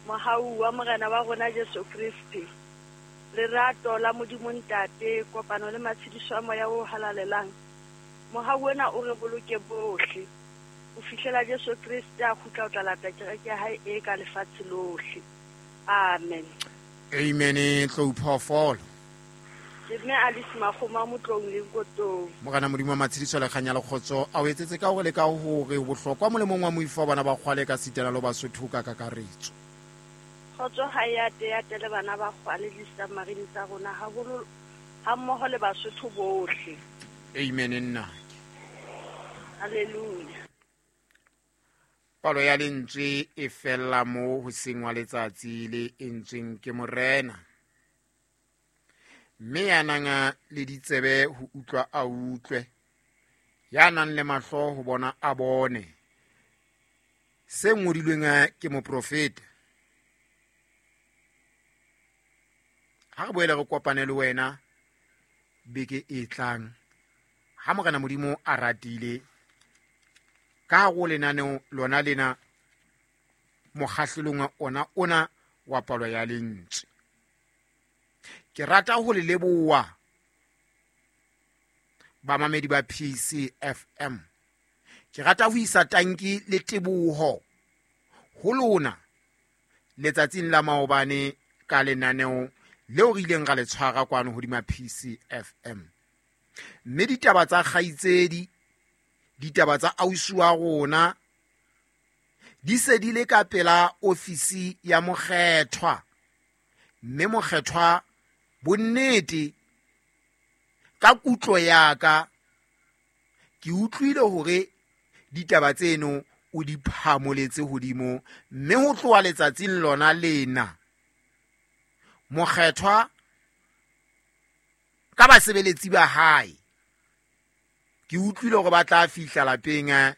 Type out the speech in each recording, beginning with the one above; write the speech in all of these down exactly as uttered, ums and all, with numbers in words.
Mohau wa Morena wa rona Jesu Kriste, lerato la Modimo Ntate, kopano le matshediso a Moya o halalelang, mohau ona o re boloke bohle ho fihlela Jesu Kriste a kgutla ho tla lata kereke ya hae e ka lefatshe lohle. Amen. Amen. Tlou phoofolo. Ke mme Alice Makgoma Motlong le Nkotong. Morena Modimo wa matshediso le kganya le kgotso a o etsetse ka hore le ka hore bohlokwa molemong wa moifo wa bana ba kgwale ka sitana le Basotho ka kakaretso. Kgotso ha ya te ya te le bana ba kgwale le submarine tsa rona haholo ha mmoho le Basotho bohle. Amen nna. Hallelujah. Palo ya lentswe e fella mo ho sengwa letsatsi le entsweng ke Morena. Mme ya nang le ditsebe ho utlwa a utlwe, ya nang le mahlo ho bona a bone. Se ngodilweng ke moprofeta. Ha re boele re kopane le wena beke e tlang, ha Morena Modimo a ratile, ka go lenaneo lona lena mokgahlelong ona ona wa palo ya lentswe. Ke rata ho le leboha bamamedi ba P C F M. Ke rata ho isa tanki le teboho ho lona letsatsing la maobane ka lenaneo leo re ileng ra le tshwara kwano hodima P C F M. Mme ditaba tsa kgaitsedi, ditaba tsa ausi wa rona di se di le ka pela ofisi ya mokgethwa. Mme mokgethwa bonnete ka kutlo ya ka ke utlwile hore ditaba tseno o di phamoletse hodimo, mme ho tloha letsatsing lona lena mokgethwa ka basebeletsi ba hae ke utlwile hore ba tla fihla lapeng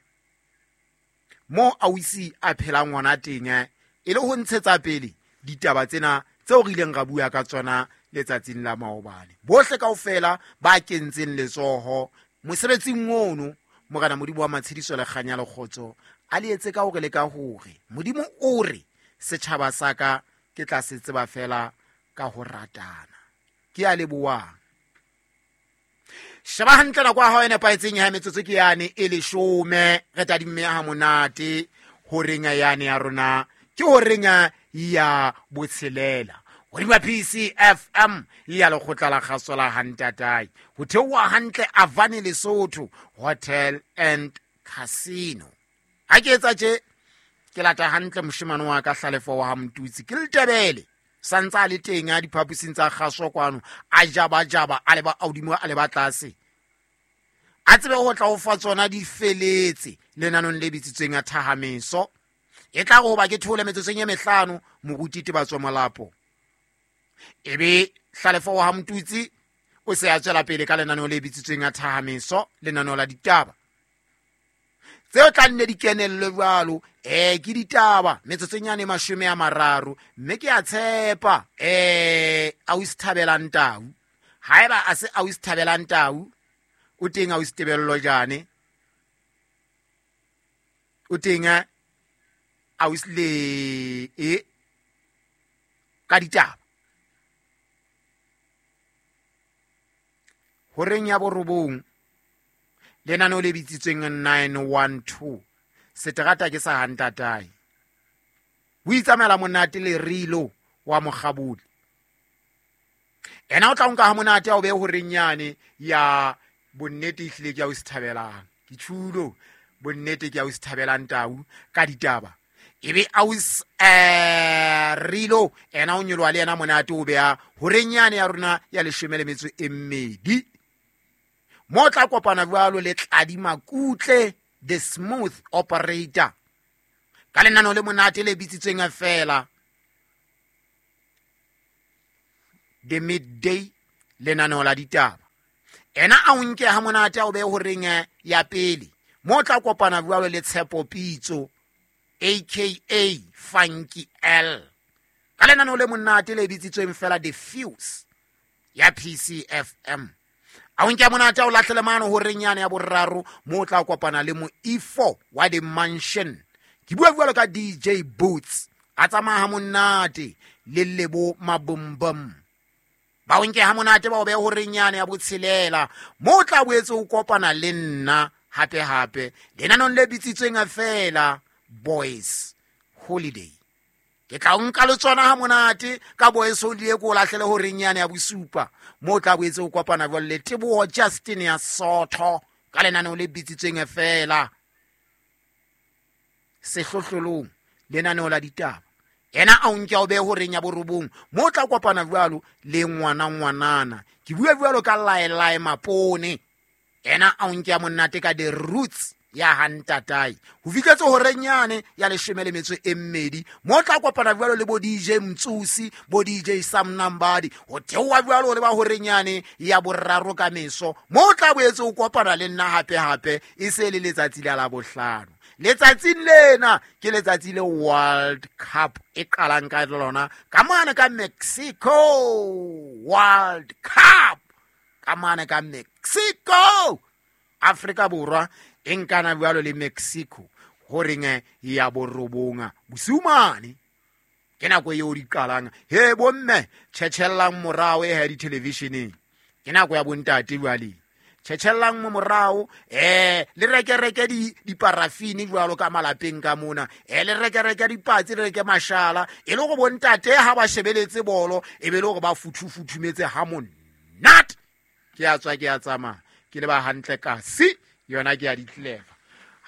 mo ausi a phelang hona teng e le ho ntshetsa pele ditaba tsena tseo re ileng ra bua ka tsona letsatsing la maobane. Bohle kaofela ba kentseng letsoho mosebetsing ono, Morena Modimo wa matshediso le kganya le kgotso a le etse ka hore le ka hore Modimo o re setjhaba sa ka ke tla se tseba fela ka ho ratana. Ke a leboha. Sheba hantle nako ya hao e nepahetseng ya metsotso ke yane e leshome. Re tadimme ha monate horeng yane ya rona ke horeng ya botshelela hodima P C F M ya lekgotla la kgaso la Hantatai. Ho theoha hantle Avani Lesotho Hotel and Casino. Ha ke etsa tje ke lata hantle moshemane wa ka Hlalefo wa ha Mtutsi ke Letebele santsa le teng a diphaposing tsa kgaso kwano a jaba jaba a leba hodimo a leba tlase a tsebe ho tla ho fa tsona di feletse lenanong le bitsitsweng a thahameso. E tla go ba ke thole metsotsong e mehlano moruti Tebatso Molapo ebe Hlalefo wa ha Mtutsi o se a tswela pele ka lenaneo le bitsitsweng a thahameso, lenaneo la ditaba tseo tla nne di kenelle jwalo. Eh ke ditaba metsotsong yane mashome a mararo, mme ke a tshepa eh ausi Thabelang Tau. Haeba a se ausi Thabelang Tau o teng ausi Tebello jane o teng ausi le e ka ditaba horeng ya borobong lenaneo le bitsitsweng nine one two seterata ke sa Hantatai. O itsamaela monate le Rilo wa Mokgabudi. Ena o tla nka ha monate a o be horeng yane ya bonnete ehlile ke ya o se thabelang. Ke tjhulo bonnete ke ya o se thabelang Tau ka ditaba. Ebe aus eh Rilo ena o nyoloha le yena monate o beha horeng yane ya rona ya leshome le metso e mmedi. Mo tla kopana jwalo le Tladi Makutle the smooth operator ka lenaneo le monate le bitsitsweng fela the midday lenaneo la ditaba. Ena a o nke ha monate a o behe horeng ya pele. Mo tla kopana jwalo le Tshepo Pitso aka Funky L ka lenaneo le monate le bitsitsweng fela the fuse ya P C F M. A o nke monate o lahlele mano horeng yane ya boraro mo tla kopana le moifo wa the mansion. Ke bua jwalo ka D J Boots A tsamaya ha monate le Lebo Mabumbum. Ba o nke ha monate ba o behe horeng yane ya botshelela mo o tla boetse o kopana le nna hape hape lenanong le bitsitsweng feela Boys Holiday. Ke tla o nka le tsona ha monate ka Boys Holiday ko o lahlele horeng yane ya bosupa mo o tla boetse o kopana jwale le Teboho Justin ya Sotho ka lenaneo le bitsitsweng feela Sehlohlolong, lenaneo la ditaba. Ena a o nke o behe horeng ya borobong mo o tla kopana jwalo le ngwana ngwanana. Ke bua jwalo ka Laelae Mapone. Ena a o nke monate ka the roots ya hantatae ho fihletse horeng yane ya leshome le metso e mmedi mo o tla kopana jwalo le bo D J Mtsusi, bo D J Sam Nambadi, ho theoha jwalo le ba horeng yane ya boraro ka meso mo o tla boetse o kopana le nna hape hape e se le letsatsi la Labohlano. Letsatsing lena ke letsatsi le World Cup e qalang ka lona ka mane ka Mexico. World Cup ka mane ka Mexico. Afrika Borwa e nkana jwalo le Mexico horeng ya borobonga bosiu mane. Ke nako eo di qalang. He bomme tjhetjhellang morao e ha di-televisioneng. Ke nako ya bontate jwale. Tjhetjhellang mo morao eh le reke reke di diparafini jwalo ka malapeng ka mona, eh le reke reke dipatsi, le reke mashala e le go bontate ha ba shebeletse bolo e be le gore ba futhufuthumetse ha monate. Ke a tswa ke a tsamaya ke le ba hantle kasi yona ke ya ditleva.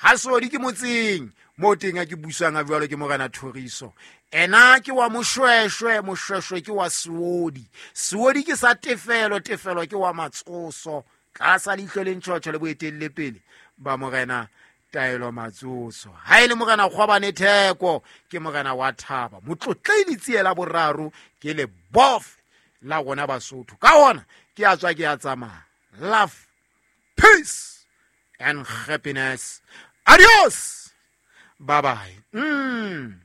Ha sodi ke motseng mo teng a ke busang a jwalo ke Morena Thoriso. Ena ke wa Moshweshwe, Moshweshwe ke wa Seodi, Seodi ke sa Tefelo, Tefelo ke wa Matsoso. Tlasa leihlo le ntjhotjho le boetelle pele ba Morena Taelo Matsoso. Ha e le Morena Kgwabane Theko ke Morena wa Thaba. Motlotlei Letsie la boraro ke le bof la rona Basotho. Ka hona ke a tswa ke a tsamaya. Love, peace and happiness. Adios. Bye bye. Mm.